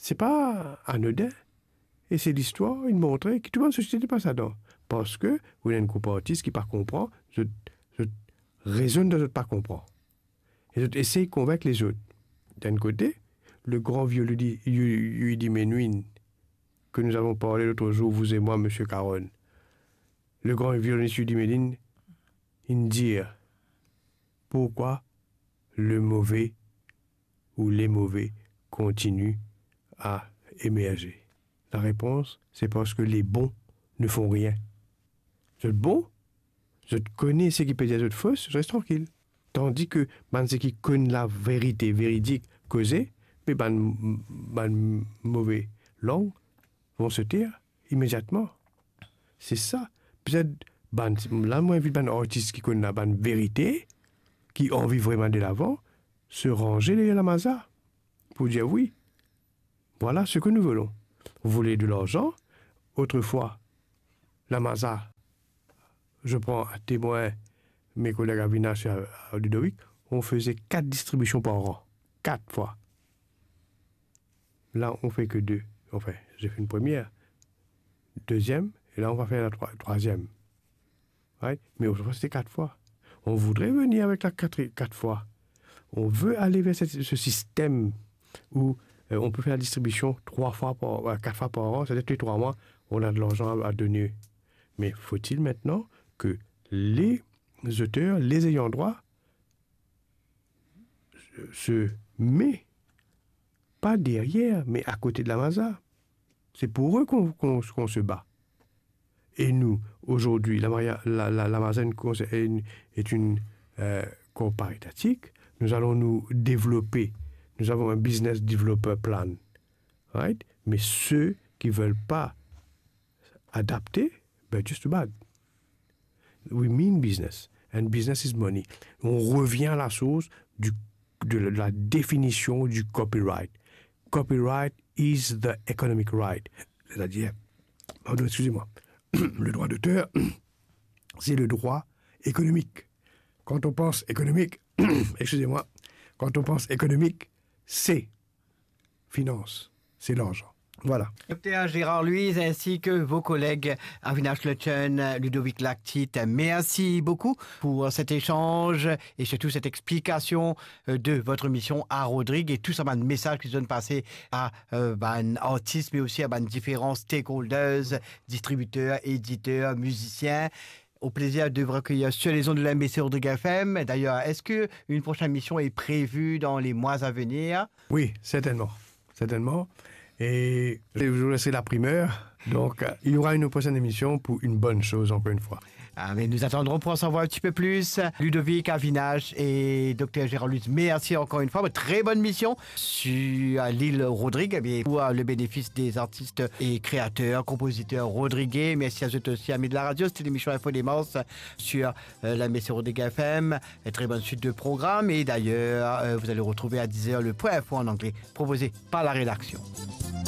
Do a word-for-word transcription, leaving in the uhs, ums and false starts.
Se pa anodin. E se listwar inn montre ki tou bann sosiete pas ladan. Parski ou ena enn group artis ki pa konpran, zot, zot rezonn dan zot pa konpran. E zot esey konvink lezot. D'un côté, le grand vieux Ludi-, Yu-, Yuidi Menuhin, que nous avons parlé l'autre jour, vous et moi, monsieur Caron. Le grand violoniste Yuidi Menuhin, il dit, pourquoi le mauvais ou les mauvais continuent à émerger? La réponse, c'est parce que les bons ne font rien. Zot bon, zot kone seki pe dir zot fos, zot res trankil. Tandis ki bann seki konn laverite veridik koze, me bann, bann move lang vont se taire imediatman. Se sa. Petet bann, la mo invit bann artis ki konn la bann verite, ki anvi vremem ale delavan, se ranze deryer lamaza pou dir wi, voilà ce que nous voulons. Vous voulez de l'argent? Autrefois, lamaza, je prends à témoin mes collègues Avinash et, euh, Ludovic, on faisait quatre distributions par an. Quatre fois. Là, on fait que deux. Enfin, j'ai fait une première, deuxième, et là, on va faire la troi-, troisième. Right? Mais autrefois, c'était quatre fois. On voudrait venir avec la quatre, quatre fois. On veut aller vers cette, ce système où, euh, on peut faire la distribution trois fois par, euh, quatre fois par an, c'est-à-dire tous les trois mois, on a de l'argent à, à donner. Mais faut-il maintenant que les auteurs, les ayants droit, se, se met pas derrière, mais à côté de la maza. C'est pour eux qu'on, qu'on, qu'on se bat. Et nous, aujourd'hui, la, Maria- la, la, la maza est une, cons- est une, est une, euh, corps paritatique. Nous allons nous développer. Nous avons un business developer plan. Right? Mais ceux qui veulent pas adapter, ben, just too bad. We mean business, and business is money. On revient à la source du, de la définition du copyright. Copyright is the economic right. C'est-à-dire, pardon, excusez-moi, le droit d'auteur, c'est le droit économique. Quand on pense économique, excusez-moi, quand on pense économique, c'est finance, c'est l'argent. Voilà. Docteur Gérard Louise ainsi que vos collègues Avinash Lochner, Ludovic Lactite, merci beaucoup pour cet échange et surtout cette explication, euh, de votre mission à Rodrigue et tout sa bann mesaz ki zot inn pase à, euh, bann artis, mais aussi à bann différents stakeholders, distributeurs, éditeurs, musiciens. Au plaisir de vous recueillir sur les ondes de l'M B C Rodrigue F M. D'ailleurs, est-ce que une prochaine émission est prévue dans les mois à venir ? Oui, certainement. Certainement. Et je vous laisserai la primeur. Donc, euh, il y aura une prochaine émission pour une bonne chose, encore une fois. Ah, mais nous attendrons pour en savoir un petit peu plus. Ludovic Avinash et Docteur Gérard Louise, merci encore une fois. Très bonne mission sur, euh, l'île Rodrigue, eh bien, pour, euh, le bénéfice des artistes et créateurs, compositeurs rodriguais. Merci à eux aussi, amis de la radio. C'était l'émission Info Démence sur, euh, la M B C Rodrigue F M. Et très bonne suite de programme. Et d'ailleurs, euh, vous allez retrouver à dix heures le point info en anglais proposé par la rédaction.